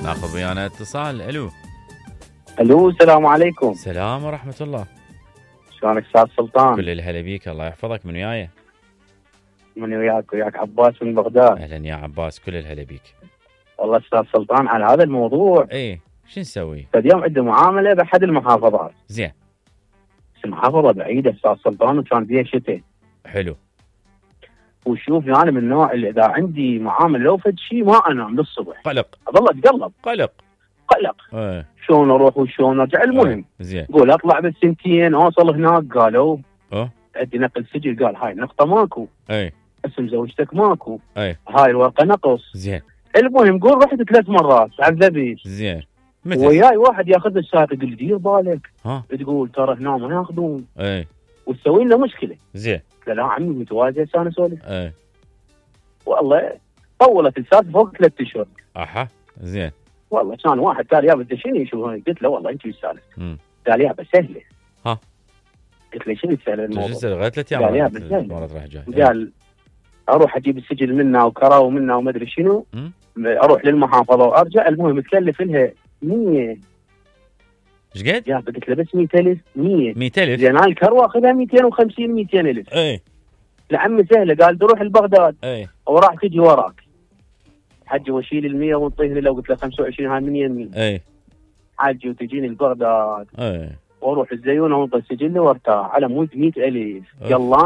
ناخذ ويانا اتصال. الو. الو السلام عليكم. السلام ورحمة الله. شلونك استاذ سلطان؟ كل الهلا بيك، الله يحفظك. من وياي؟ من وياك عباس من بغداد. اهلا يا عباس، كل الهلا بيك. والله استاذ سلطان على هذا الموضوع. ايه شو نسوي؟ اليوم عندي معامله باحد المحافظات. زين. بس المحافظه بعيده استاذ سلطان وكان فيها شتاء. حلو. وشوف انا من النوع اللي اذا عندي معامله لو فد شيء ما انام للصبح. قلق. اظل اتقلب. قلق. ايه. شلون اروح وشلون ارجع. المهم زين. قول اطلع بالسنتين اوصل هناك قالوا اه عندي نقل سجل. قال هاي النقطه ماكو. اي. اسم زوجتك ماكو. اي. هاي الورقه نقص. زين. المهم قول رحت 3 مرات عذبت. زين. وياي واحد ياخذ السائق يقول دير بالك. ها. تقول ترى هنا ما ياخذون. اي. وتسوي لنا مشكله. زين. قال لا عمي متواجد هسه انا اسولف. اي. والله طولت السالفه فوق 3 اشهر. اها. زين. والله كان واحد قال يابا انت شنو شو. قلت له والله انت وش السالفه؟ قال يابا سهله. ها. قلت له شنو سهله الموضوع؟ شو لغايه 3 ايام؟ قال يابا سهله. مرات راح جاي. قال اروح اجيب السجل منها وكرا ومنها وما ادري شنو. اروح للمحافظه وارجع. المهم تكلف لها 100. ايش قد؟ يا قلت له بس 100,000. 100,000. زين هاي الكروه اخذها 250 200,000. اي. لعمي سهله. قال تروح لبغداد. اي. وراح تجي وراك. حجي واشيل ال 100 ونطيه لو قلت له 25 هاي من يمي. اي. حجي وتجيني لبغداد. اي. واروح الزيونه وانطي السجل وارتاح على مود 100,000. يلا